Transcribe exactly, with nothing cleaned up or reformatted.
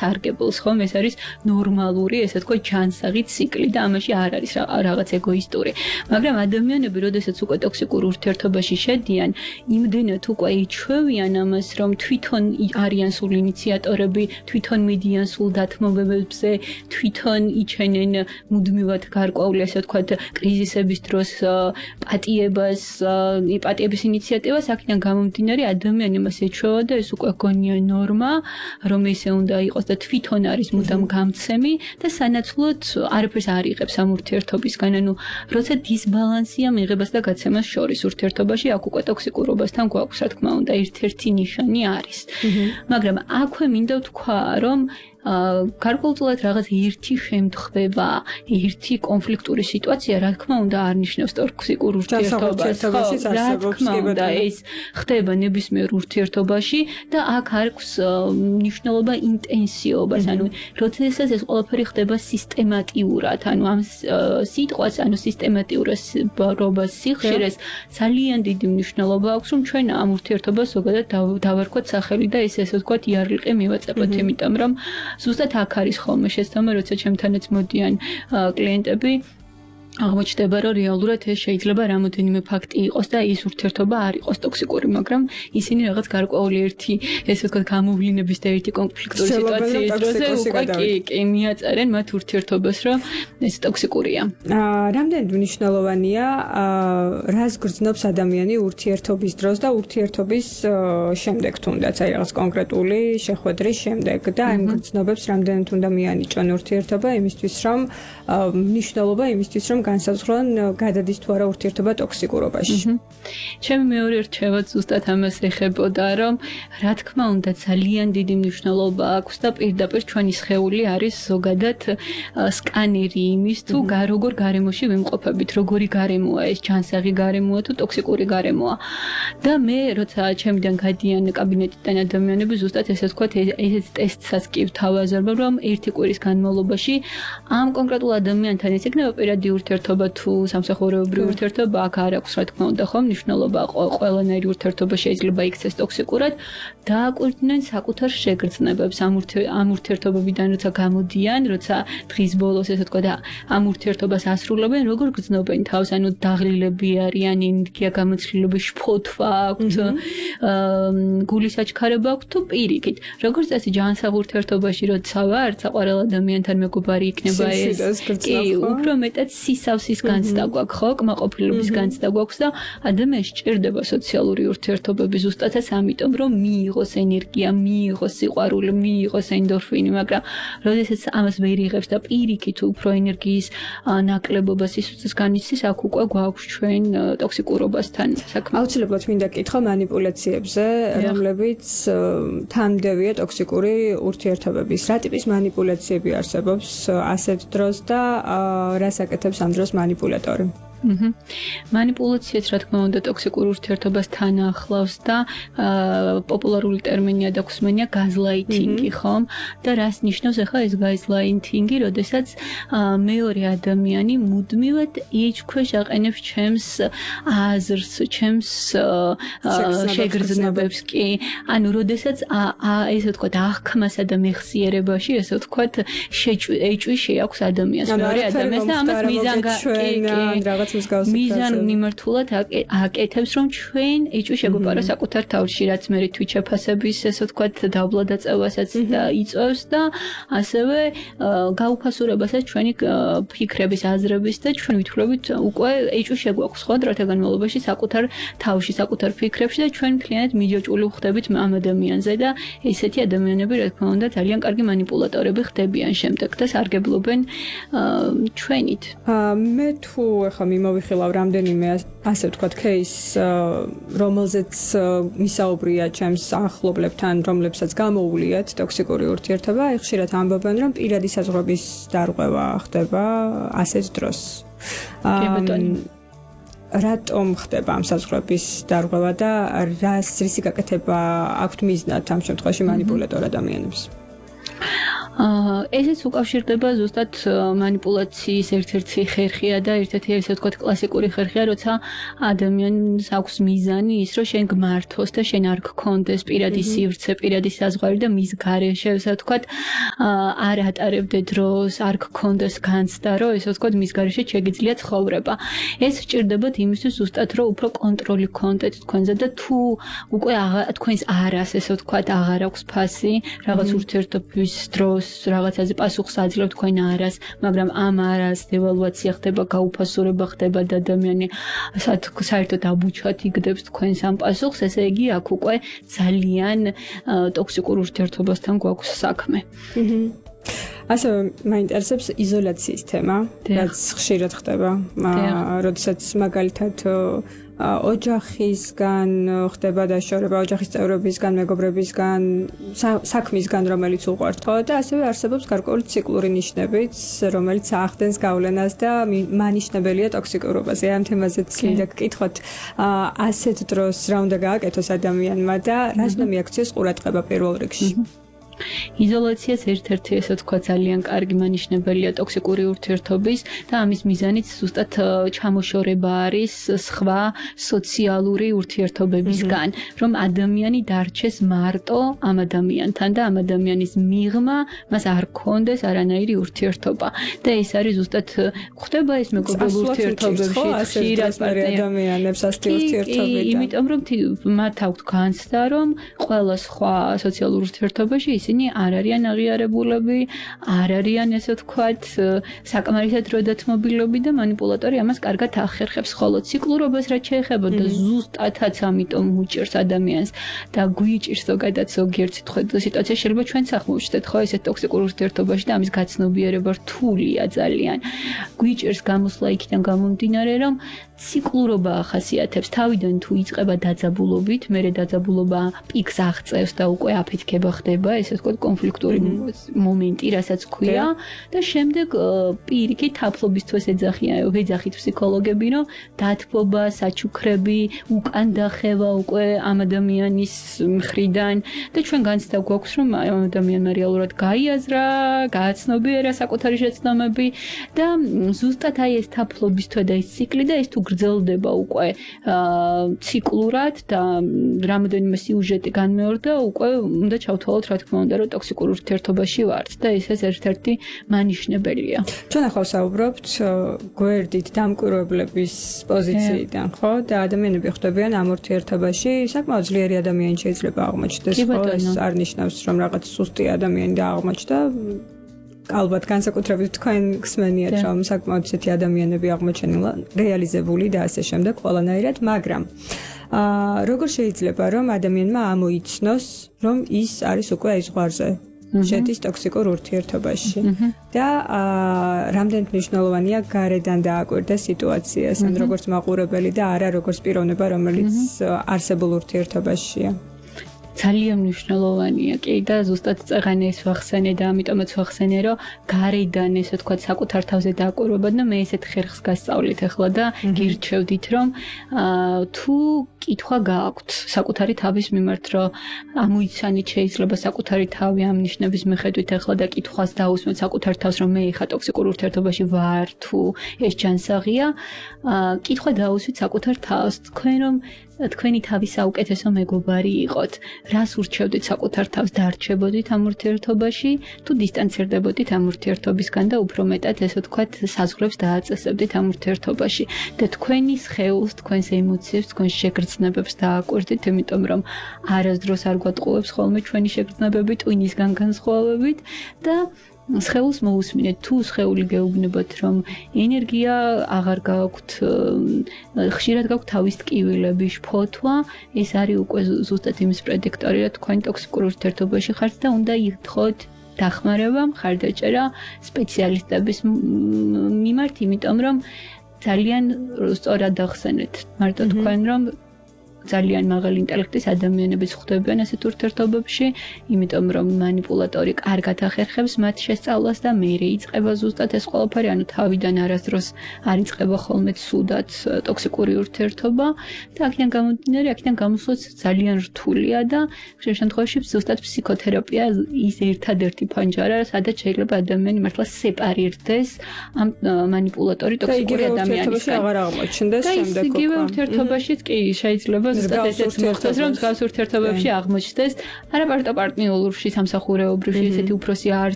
სარგებლოს, ხომ? ეს არის ნორმალური, ესე თქვა, ჯანსაღი ციკლი და ამაში არ არის რაღაც ეგოისტური. მაგრამ ადამიანები, როდესაც უკვე ტოქსიკურ ურთიერთობაში შედიან, იმდენად უკვე იჩვევიან ამას, რომ თვითონ არიან სულ ინიციატორები, თვითონ მიდიან სულ დათმობებებზე, თვითონ იჩენენ მუდმივად გარკვეული, ასე ვთქვათ, კრიზისების დროს პატიებას, პატიების ინიციატივას, აქედან გამომდინარე ადამიანი მას ეჩვევა და ეს უკვე გონია ნორმა, რომ ესე უნდა იყოს და თვითონ არის მუდამ გამცემი და სანაცვლოდ არაფერს არ იღებს ამ ურთიერთობისგან, ანუ როცა დისბალანსია მიღებას და გაცემას შორის ურთიერთობაში, აქ უკვე ტოქსიკურობასთან გვაქვს, რა თქმა უნდა, ერთ-ერთი ნიშანი არის. მაგრამ აქვე მინდა ვთქვა, რომ გარკვეულწილად რაღაც ერთი შემთხვევა, ერთი კონფლიქტური სიტუაცია, რა თქმა უნდა, არ ნიშნავს ტოქსიკურ ურთიერთობას. რა თქმა უნდა, ეს ხდება ნებისმიერ ურთიერთობაში და აქ აქვს მნიშვნელობა ინტენსიობას, ანუ როდესაც ეს ყველაფერი ხდება სისტემატიურად, ანუ ამ სიტყვას, ანუ სისტემატიურობას, სიხშირეს ძალიან დიდი მნიშვნელობა აქვს, რომ ჩვენ ამ ურთიერთობას ზოგადად დავარქვათ სახელი და ეს ესე ვთქვათ, იარლიყი მივაწებოთ, იმიტომ რომ ზუსტად აქ არის ხოლმე შეცდომა, როცა ჩემთანაც მოდიან კლიენტები, აღმოჩნდება, რომ რეალურად ეს შეიძლება რამოდენიმე ფაქტი იყოს და ის ურთიერთობა არ იყოს ტოქსიკური, მაგრამ ისინი რაღაც გარკვეული ერთი, ესე ვთქვათ, გამოვლინების და ერთი კონფლიქტური სიტუაციის დროზე უკვე კი, კი მიაწერენ მათ ურთიერთობას, რომ ეს ტოქსიკურია. რამდენად მნიშვნელოვანია, რას გრძნობს ადამიანი ურთიერთობის დროს და ურთიერთობის შემდეგ თუნდაც, აი რაღაც კონკრეტული შეხვედრის შემდეგ და აი გრძნობებს რამდენად უნდა მიანიჭონ ურთიერთობა იმისთვის, რომ მნიშვნელობა იმისთვის, რომ განსაზღვრონ გადადის თუ არა ურთიერთობა ტოქსიკურობაში. ჩემი მეორე რჩევაც ზუსტად ამას ეხებოდა, რომ რა თქმა უნდა ძალიან დიდი მნიშვნელობა აქვს და პირდაპირ ჩვენი სხეული არის ზოგადად სკანერი იმის, თუ როგორ გარემოში ვიმყოფებით, როგორი გარემოა ეს, ჯანსაღი გარემოა თუ ტოქსიკური გარემოა. და მე როცა ჩემიდან გადიან კაბინეტიდან ადამიანები, ზუსტად ესე ვთქვათ, ეს ტესტსაც კი ვთავაზობ, რომ ერთი კვირის განმავლობაში ამ კონკრეტულ ადამიანთან ეს იქნება პირადი ურთიერთობა თუ სამსახურეობრივი ურთიერთობა, აქ არ აქვს რა თქმა უნდა, ხომ, მნიშვნელობა ყველანაირი ურთიერთობა შეიძლება იქცეს ტოქსიკურად, დააკვირდნენ საკუთარ შეგრძნებებს ამ ურთიერთობებიდან, როცა გამოდიან, როცა დღის ბოლოს ესე ვთქვათ, ამ ურთიერთობას ასრულებენ, როგორ გრძნობენ თავს, ანუ დაღლილები არიან, ენერგია გამოცდილება, შფოთვა აქვთ, გულის აჩქარება აქვთ თუ პირიქით. როგორც წესი ჯანსაღ ურთიერთობაში როცა ვარ, საყვარელ ადამიანთან მეგობარი იქნება ეს. კი, უფრო მეტად სისავსის განცდა გვაქვს, ხო, კმაყოფილების განცდა გვაქვს და ადამიანს სჭირდება სოციალური ურთიერთობები ზუსტადაც ამიტომ, რომ მიიღოს ენერგია, მიიღოს სიყვარული, მიიღოს ენდორფინი, მაგრამ როდესაც ამას ვერ იღებს და პირიქით უფრო ენერგიის ნაკლებობა სისუსტეს განიცდის, აქ უკვე გვაქვს ჩვენ ტოქსიკურობასთან საქმე. აუცილებლად მინდა კითხო манипуляციებზე, რომლებიც თანმდევია ტოქსიკური ურთიერთობების. რა ტიპის манипуляციები არსებობს ასეთ დროს და რას აკეთებს ამ დროს манипуляტორი? манипуляციაც რა თქმა უნდა ტოქსიკურ ურთიერთობას თან ახლავს და პოპულარული ტერმინია და გვსმენია გაზლაითინგი, ხომ? და რას ნიშნავს ახლა ეს გაზლაითინგი, როდესაც მეორე ადამიანი მუდმივად იჩქვეშ აყენებს ჩემს აზრს, ჩემს შეგრძნებებს, კი. ანუ როდესაც ესე ვთქვათ, აღქმასა და მეხსიერებაში, ესე ვთქვათ, ეჭვი შეაქვს ადამიანს, მეორე ადამიანს და ამას მიზანგი მიზან მიმართულად აკეთებს, რომ ჩვენ ეჭვი შეგვეპარა საკუთარ თავში, რაც მე თვით შეფასების, ესე ვთქვათ, დაბლა დაწევასაც იწვევს და ასევე გაუფასურებასაც ჩვენი ფიქრების, აზრების და ჩვენ ვითვლებით უკვე ეჭვი შეგვაქვს ხო დროთა განმავლობაში საკუთარ თავში, საკუთარ ფიქრებში და ჩვენ მთლიანად მიჯაჭვული ხდებით ამ ადამიანზე და ესეთი ადამიანები, რა თქმა უნდა, ძალიან კარგი манипуляტორები ხდებიან შემდეგ და სარგებლობენ ჩვენით. მე თუ ახლა მიმოვიხილავ რამდენიმე ასე ვთქვათ кейს, რომელზეც მისაუბრია ჩემს ახლობლებთან, რომლებსაც გამოუვლიათ ტოქსიკური ურთიერთობა, ხშირად ამბობენ, რომ პირადი საზღვრების დარღვევა ხდება ასეთ დროს. რატომ ხდება ამ საზღვრების დარღვევა და რას რისი გაკეთება აქვთ მიზნად ამ შემთხვევაში манипуляტორ ადამიანებს? ესეც უკავშირდება ზუსტად манипуляციის ერთ-ერთი ხერხია და ერთ-ერთი ესე ვთქვათ კლასიკური ხერხია, როცა ადამიანს აქვს მიზანი ის, რომ შენ გმართოს და შენ არ გქონდეს პირადი სივრცე, პირადი საზღვარი და მის გარეშე, ესე ვთქვათ, არ ატარებდე დროს, არ გქონდეს განცდა, რომ ესე ვთქვათ, მის გარეშე შეგიძლია ცხოვრება. ეს სჭირდებათ იმისთვის ზუსტად, რომ უფრო კონტროლი გქონდეთ თქვენზე და თუ უკვე თქვენს არას, ესე ვთქვათ, აღარ აქვს ფასი, რაღაც ურთიერთობის დროს, რაღაცაზე პასუხს აძლევთ თქვენ არას, მაგრამ ამ არას დევალვაცია ხდება, გაუფასურება ხდება და ადამიანი საერთოდ აბუჩად იგდებს თქვენს ამ პასუხს, ესე იგი აქ უკვე ძალიან ტოქსიკურ ურთიერთობასთან გვაქვს საქმე. ასე მაინტერესებს იზოლაციის თემა, რაც ხშირად ხდება, როდესაც მაგალითად ოჯახისგან ხდება დაშორება, ოჯახის წევრებისგან, მეგობრებისგან, საქმისგან, რომელიც უყვართ, ხო და ასევე არსებობს გარკვეული ციკლური ნიშნებიც, რომელიც ახდენს გავლენას და მანიშნებელია ტოქსიკურობაზე. ამ თემაზეც მინდა გკითხოთ, ასეთ დროს რა უნდა გააკეთოს ადამიანმა და რას უნდა მიაქციოს ყურადღება პირველ რიგში? იზოლაციაც ერთ-ერთი ესე თქვა ძალიან კარგი მანიშნებელია ტოქსიკური ურთიერთობის და ამის მიზანიც ზუსტად ჩამოშორება არის სხვა სოციალური ურთიერთობებისგან, რომ ადამიანი დარჩეს მარტო ამ ადამიანთან და ამ ადამიანის მიღმა მას არ ქონდეს არანაირი ურთიერთობა. და ეს არის ზუსტად ხდება ეს მეგობრულ ურთიერთობებში ხშირად ადამიანებს ასეთი ურთიერთობები. იმიტომ რომ მათ აქვთ განცდა, რომ ყველა სხვა სოციალურ ურთიერთობაში ისინი არ არიან აღიარებულები, არ არიან ესე ვთქვათ, საკმარისად დროდადმობილები და манипуляტორი ამას კარგად ახერხებს. ხოლო ციკლურობას რაც შეეხება და ზუსტადაც ამიტომ უჭერს ადამიანს და გვიჭირს ზოგადად ზოგიერთ სიტუაციაში შეიძლება ჩვენც აღმოვჩნდეთ, ხო, ესეთ ტოქსიკურ ურთიერთობაში და ამის გაცნობიერება რთულია ძალიან. გვიჭერს გამოსვლა იქიდან გამომდინარე, რომ ციკლურობა ახასიათებს თავიდან თუ იწყება დაძაბულობით, მერე დაძაბულობა პიკს აღწევს და უკვე აფეთქება ხდება, ესე ვთქვათ, კონფლიქტური მომენტი, რასაც ქვია და შემდეგ პირიქით თაფლობის თვეს ეძახიან, ეძახით ფსიქოლოგები, რომ დათბობა, საჩუქრები, უკან დახევა უკვე ამ ადამიანის მხრიდან და ჩვენ განცდა გვაქვს, რომ ამ ადამიანმა რეალურად გაიაზრა, გააცნობიერა საკუთარი შეცდომები და ზუსტად აი ეს თაფლობის თვე და ეს ციკლი და ეს თუ გრძელდება უკვე ციკლურად და რამოდენიმე სიუჟეტი განმეორდა, უკვე უნდა ჩავთვალოთ, რა თქმა უნდა, რომ ტოქსიკურ ურთიერთობაში ვართ და ეს ერთ-ერთი მანიშნებელია. ჩვენ ახლა ვსაუბრობთ გვერდით დამკვირვებლების პოზიციიდან, ხო? და ადამიანები ხვდებიან ამ ურთიერთობაში, საკმაოდ ძლიერი ადამიანი შეიძლება აღმოჩნდეს, ხო? ეს არ ნიშნავს, რომ რაღაც სუსტი ადამიანი დააღმოჩნდა. ალბათ განსაკუთრებით თქვენ გსმენიათ, რომ საკმაოდ ისეთი ადამიანები აღმოჩენილა, რეალიზებული და ასე შემდეგ ყველანაირად, მაგრამ აა როგორ შეიძლება რომ ადამიანმა ამოიცნოს, რომ ის არის უკვე აი ზღვარზე, შედის ტოქსიკურ ურთიერთობაში და აა რამდენად მნიშვნელოვანია გარედან დააკვირდეს სიტუაციას, ან როგორც მაყურებელი და არა როგორც პიროვნება, რომელიც არსებულ ურთიერთობაშია. ძალიან მნიშვნელოვანია კი და ზუსტად წეღანე ეს ვახსენე და ამიტომაც ვახსენე, რომ გარედან ესე ვთქვათ საკუთარ თავზე დააკვირვება და მე ესეთ ხერხს გასწავლით ახლა და გირჩევდით, რომ თუ კითხვა გააქვთ საკუთარი თავის მიმართ, რომ ამოიცანით შეიძლება საკუთარი თავი ამ ნიშნების მიხედვით ახლა და კითხვას დაусმოთ საკუთარ თავს, რომ მე ხა ტოქსიკურ ურთიერთობაში ვარ თუ ეს ჯანსაღია, კითხვა დაусვით საკუთარ თავს, თქვენ რომ თქვენი თავის საუკეთესო მეგობარი იყოთ. რას ურჩევდით საკუთარ თავს, დარჩებოდით ამ ურთიერთობაში, თუ დისტანცირდებოდით ამ ურთიერთობისგან და უფრო მეტად ესე ვთქვათ, საზღვრებს დააწესებდით ამ ურთიერთობაში და თქვენი სხეულს, თქვენს ემოციებს, თქვენს შეგრძნებებს დააკვირდით, იმიტომ რომ არასდროს არ გვატყუებს ხოლმე ჩვენი შეგრძნებები ტვინისგან განსხვავებით და სხეულს მოусმინეთ, თუ სხეული გეუბნებათ, რომ ენერგია აღარ გააქვთ, ხშირად გაქვთ თავის ტკივილები, შფოთვა, ეს არის უკვე ზუსტად იმის პრედიქტორი, რომ თქვენ ტოქსიკურ ურთიერთობაში ხართ და უნდა იხდოთ დახმარება, მხარდაჭერა სპეციალისტების მიმართ, იმიტომ რომ ძალიან სწორად ახსენეთ, მარტო თქვენ რომ ძალიან მაღალი ინტელექტის ადამიანებიც ხვდებიან ასეთ ურთიერთობებში, იმიტომ რომ манипуляტორი კარგად ახერხებს მათ შესწავლას და მერე იწყება ზუსტად ეს ყველაფერი, ანუ თავიდან არასდროს არ იწყება ხოლმე ცუდად ტოქსიკური ურთიერთობა და აქედან გამომდინარე, აქედან გამოსვლაც ძალიან რთულია და ხშირ შემთხვევაში ზუსტად ფსიქოთერაპია ის ერთადერთი ფანჯარა, სადაც შეიძლება ადამიანი მართლა სეპარირდეს ამ манипуляტორი ტოქსიკური ადამიანისგან. აღარ აღმოჩნდეს შემდეგ უკვე. იგივე ურთიერთობაშიც კი შეიძლება ზუსტად ესეც მოხდეს, რომ მსგავს ურთიერთობებში აღმოჩნდეს, არა მარტო პარტნიორში, სამსახურეობრივში, ესეთი უფროსი არ